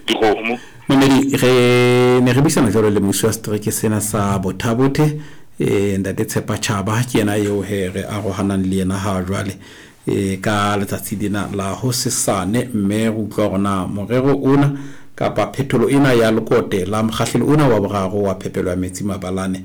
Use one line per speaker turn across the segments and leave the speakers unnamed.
Dikgomo.
Mamedi, re ne re buisana jwalo le mmusi wa setereke sena sa Bothabothe, e, Ntate Tshepa Chaba, ke yena eo he re arohanang le yena ha jwale e, ka letsatsi lena la hosesane, mme re utlwa hore na morero ona kapa phetholo ena ya lekote la mokgahlelo ona wa boraro wa phepelo ya metsi mabalane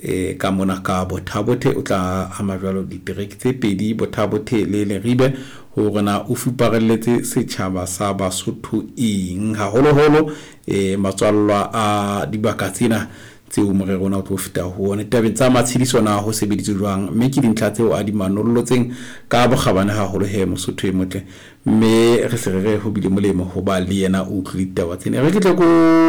E, ka mona ka Bothabothe o tla ama jwalo ditereke tse pedi, Bothabothe le Leribe, hore na o fuparelletse setjhaba sa Basotho eng, haholoholo e, matswallwa a dibaka tsena tseo morero ona o tlo feta ho ona. Ditabeng tsa matshediso na ho sebeditswe jwang, mme ke dintlha tseo a di manolotseng ka bokgabane haholo he Mosotho e motle. Mme re se re re ho bile molemo ho ba le yena o utlwile ditaba tsena. E re ke tle ko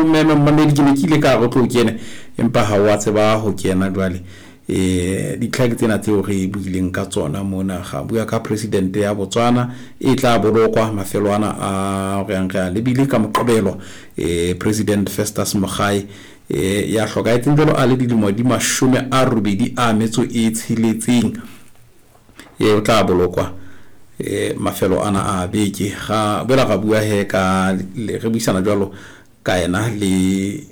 meme mmamedi, ke ne ke ile ka re o tlo kene, empa ha o a tseba ho kena jwale. E, ditlha ke tsena tseo re buileng ka tsona mona. Ga bua ka presidente ya Botswana e tla bolokwa mafelo ana a re yang re a lebile ka Moqebelo. E, President Festus Mogae e, ya hlokahetseng jwalo a le dilemo di 86. E, o tla bolokwa e, mafelo ana a beke. Ga boela ga bua he ka re buisana jwalo ka yena le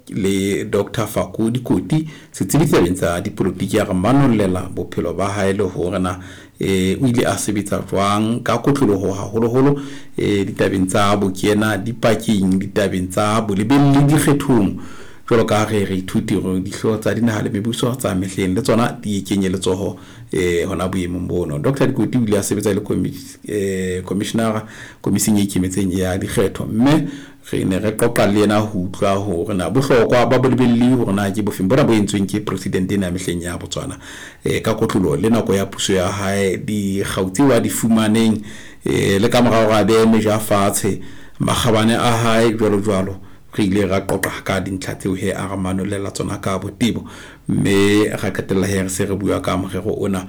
le Dr. Fako Dikoti, setsebi tabeng tsa dipolotiki, ya re manollela bophelo ba hae le hore na e, o ile a sebetsa jwang ka kotloloho haholoholo e, ditabeng tsa bokena dipakeng, ditabeng tsa bolebelli dikgethong, jwalo ka re re ithuti hore dihlooho tsa dinaha le mebuso tsa mehleng le tsona di kenye letsoho e, hona boemong bono. Dr. Dikoti o ile a sebetsa le commissionera komising e ikemetseng ya dikgetho, mme re ne re qoqa le yena ho utlwa hore na bohlokwa ba bolebelli hore na ke bofeng bona bo entsweng ke president ena ya mehleng ya Botswana e, ka kotlolo le nako ya puso ya hae, dikgau tseo a di fumaneng e, le ka morao hore a behe meja fatshe, makgabane a hae jwalo jwalo. Re ile ra qoqa ka dintlha tseo he a re manolela tsona ka botebo, mme ra qetella he re se re bua ka morero ona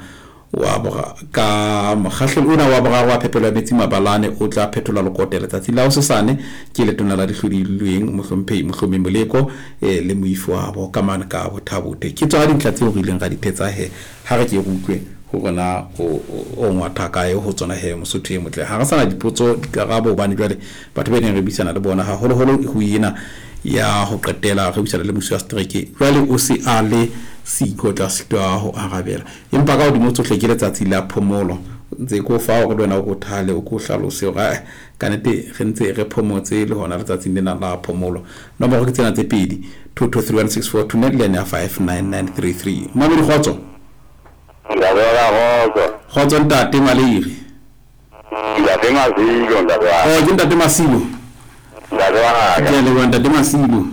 wa bora ka mokgahlelo ona wa boraro wa phepelo ya metsi mabalane o tla phethola lekote letsatsi la hosesane ke letona la dihlodilweng mohlomphehi Mohlomi Moleko e, le moifo wa bo ka mane ka Bothabothe. Ke tsona dintlha tseo re ileng ra di thetsa he ha re ke re utlwe hore na o ngwatha kae ho tsona he Mosotho e motle. Ha re sana dipotso dikarabo hobane jwale batho ba neng re buisana le bona haholoholo ho ena ya ho qetela re buisana le musi wa setereke jwale o se a le siko tla sitwa ho arabela, empa ka hodimo tsohle ke letsatsi la phomolo ntse ko fa hore le wena o ko thale o ko hlalose hore ka nnete re ntse re phomotse le hona letsatsing lena la phomolo. Nomoro ke tsena tse pedi, 2231642 le yane ya 59933. Mamedi, kgotso.
Ntate wa ka, kgotso.
Kgotso ntate Maleiri.
Ntate Masilo, ntate wa.
Oh, ke ntate Masilo.
Ntate wa ka.
Ke a leboha ntate Masilo.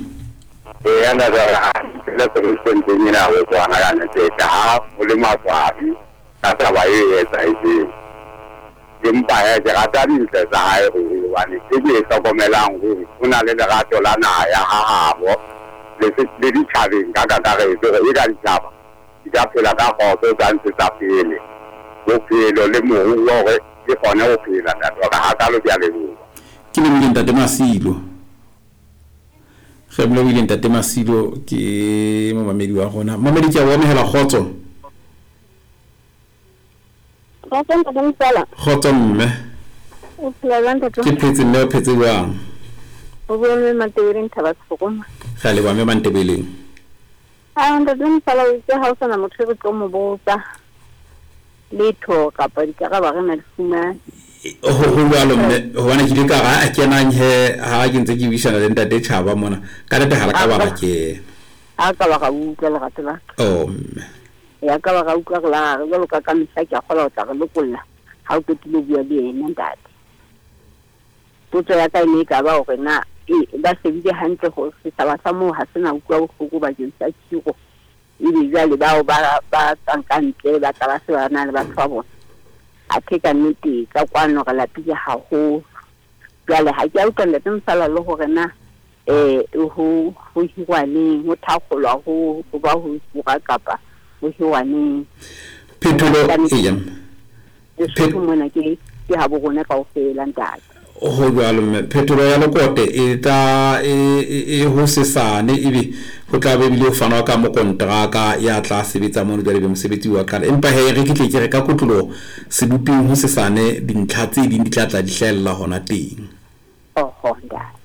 Eya ntate wa ka, le presidenteng ena ya Botswana ka nnete ha o le maswabi ka taba e etsahetseng. Empa he ke rata dintle tsa hae ruri, hobane e ke e hlokomelang ruri o na le lerato la naha ya hahabo le ditjhabeng ka kakaretso, hore e ka ditjhaba di ka phela ka kgotso, tsa ntshetsa pele bophelo le moruo hore di kgone ho phela. Ntate wa ka, hakalo ke a leboha.
Ke lebohile ntate Masilo. Re lebohile ntate Masilo, ke momamedi wa rona. Mamedi, ke a o amohela, kgotso.
Kgotso ntate Mosala.
Kgotso mme.
O phela jwang ntate?
Ke phetse mme, o phetse jwang?
O bua mme Mantebeleng Thaba Sefokoma.
Re a leboha mme Mantebeleng.
Ah, ntate Mosala, o itse ha o sana motho e re tlo mo botsa letho kapa dikarabo re na di fumane.
Ho jwalo mme, hobane ke ile ka re a kenang he ha ke ntse ke buisana le ntate Tjhaba mona, ka nnete ha re ka ba ra kena.
Ha ka ba ra utlwa lerato la ka.
Oh mme.
Ya ka ba ra utlwa re la re jwalo ka ka mehla ke a kgolwa ho tla re lokolla ha o qetile ho bua le yena ntate. Potso ya ka e ne e ka ba hore na e ba shebile hantle hore setjhaba sa moo ha se na utlwa bohloko bakeng sa khiro, ebe jwale bao ba tswang ka ntle ba tla ba se ba na le batho ba bona. Athe ka nnete ka kwano re lapile haholo. Jwale ha ke a utlwa ntate Mosala le hore na ho hirwa neng, ho thakgolwa ho ba ho hira kapa ho hirwa neng.
Phetholo eya.
Lesotho mona ke habo rona kaofela ntate.
Ho jwalo mme, phetholo ya lekote e tla e ho sesane, ebe ho tla be ebile ho fanwa ka mokonteraka ya tla sebetsa mono jwale be mosebetsi wa qala. Empa he re ke tle ke re ka kotloloho seboping ho sesane dintlha tse ding di tla tla di hlahella hona teng.
Oho ntate.